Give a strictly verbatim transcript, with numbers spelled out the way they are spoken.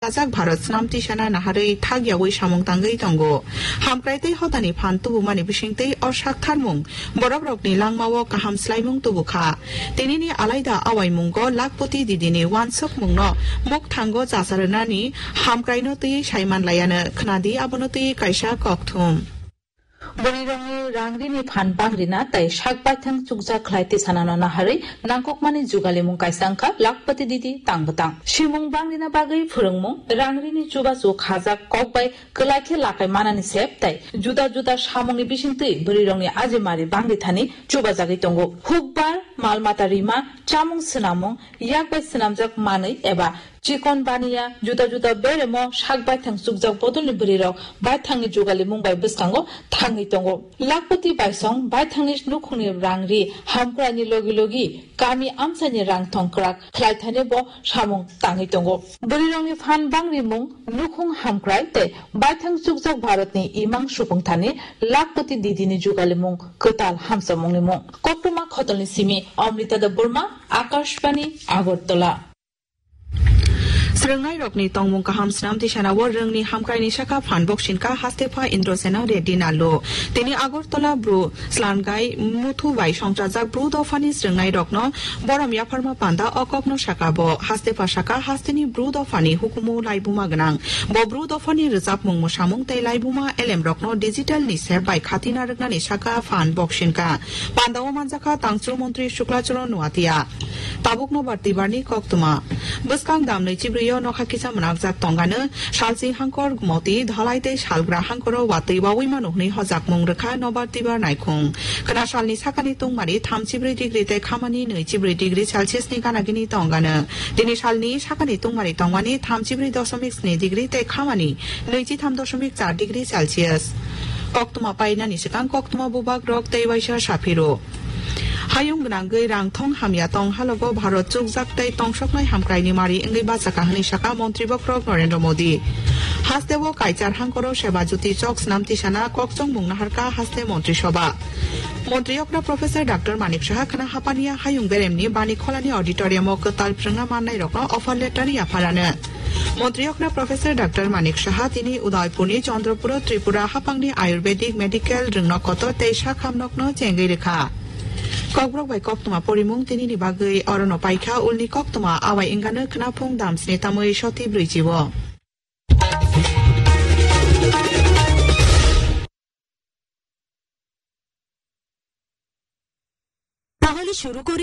Chajak Bharat Snam Tisana naharwi thakyawi samung tangwi tongo. Hamkrai tei hotani phan tubumani bisingtwi o saktharmung borokrokni langmao kaham swlaimung tubukha. Tinini alaida awaimungo Lakhpati Didini wansukmungno mukthango chacharwnani hamkraino twiwi saimanlaiano. Khnadi abono twiwi kaisa kokthum. Bwrwirokni rang rini phan bangrina tei sak baithang chukjak khlai tisanano naharwi nangkukmani jugalimung kaisa wngkha Lakhpati Didi tang bwtang. Simung bangrina bagwi phwrwngmung, rang rini chubachu khajak kok bai kwlai khe lakai manani sep tei juda juda samungni bisingtwi bwrwirokni ajimari bangrithani chubajagwi tongo. Hukbar, mal mata rima, chamung swnamung, yak bai swnamjak manwi eba chikon baniya, juda juda beremo sak baithang chukjak bodolni bwrwirok baithangni jugalimung bai bwskango thangwi tongo. Lakhpati baisong baithangni nukhungni rang ri hamkraini logi logi kami amchaini rang thong kwrak khlaithani bo samung tangwi tongo. Bwrwirokni phan bangrimung, nukhung hamkrai tei baithang chukjak Bharatni imang supungthani Lakhpati Didini jugalimung kwtal hamchamungni mung. Koktwma khotolni simi Amrita Debbarma, Akashbani, Agartala. Swrwngnairokni tongmung kaham Snam Tisanao rwngni hamkraini saka phan boksinka Hastepha Indrasena Reddy Nallo. Tini Agartala Bru Slangai Muthu bai songchajak Bru dophani swrwngnairokno borom yapharma panda o kokno saka bo. Hastepha saka hasteni Bru dophani hukumu laibuma gwnang. Bo Bru dophani rwchapmung, mwsamung tei laibuma elemrokno digital ni sep bai khatina rwknani saka phan boksinka. Pandao manjakha Tangchung Montri Shukla Charan Noatia. Tabuk nobar twibarni koktwma. Bwskang dam nwichibrwi o nokha kisa mwnakjak tongano, salchi hangkor moti dhalai tei salgra hangkoro watwi wawi mano hwnwi hojakmung rwkha nobar twibar naikhung. Khwna salni sakani tungmari thamchibrwi degree tei khamani nwichibrwi degree Celsius ni gana gini tongano. Tini salni sakani tungmari tongmani thamchibrwi doshomik sni degree tei khamani nwichitham doshomik char degree Celsius. Koktwma painani swkang koktwma bubagrok tei waisa saphiro. Hayung gwnangwi rang thong hamya tong halogo Bharat chukjak tei tongsoknai hamkraini mari wngwi bachaka hwnwi saka Montri bokhorok Narendra Modi. Hasteo kaichar hangkoro Seba Jyoti chok Snam Tisana kokchongmung naharka haste Montri Sobha. Montri okra Professor Doctor Manik Saha khwna hapaniya hayung beremni bani kholani auditorium o kwtal phrwngna mannairokno offer letter yapharano. Montri okra Professor Doctor Manik Saha tini Udaipurni Chandrapuro Tripura hapangni Ayurvedic Medical rwngno kotor tei sakham nokno chengwi rwkha. Kokborok bai koktwma porimung tinini bagwi orono paikha ulni koktwma awai wngano khwnaphung damsni tamwi soti brwichi o. তাহলে শুরু করি।